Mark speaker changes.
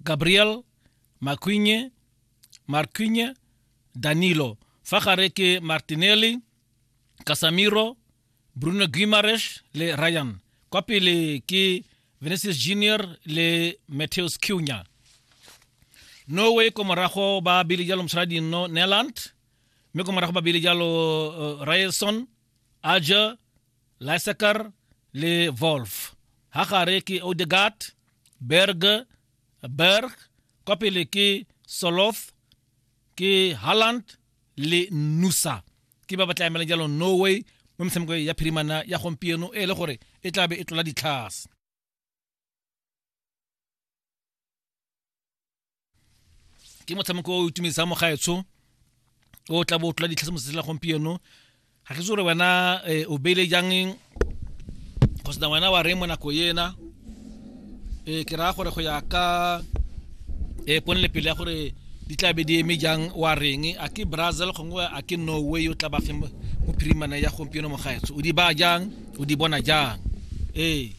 Speaker 1: Gabriel, Marquinhos, Marquinhos, Danilo. Fa gare ke Martinelli, Casemiro, Bruno Guimaraes le Ryan. Kwa pele ke Vinicius Junior le Matheus Cunha. Norway ko morago ba bile jalo mosadi no Neland, mme ko morago ba bile jalo uh, Ryerson, Aja, Lysaker le Wolf. Ha gare ke Odegaard, Berg, Berg, kwa pele ke Soloth, ke Haaland le Nusa. Ke ba ba tla emelang jalo Norway mo metshameko ya phirimana ya gompieno e le gore e tla be e tlola ditlhase. Ke motshameko o itumedisang mogaetsho o tla bo o tlola ditlhase mo la gompieno. Ga ke itse gore wena eh, o beile jang kgotsa wena wa reng mo nako ena. E ke raya gore go ya ka e ponele pele ya gore di tla be di eme jang, wa reng? A ke Brazil gongwe a ke Norway o tla ba fe mo phirimana ya gompieno mogaetsho? O di baya jang, o di bona jang? Ee.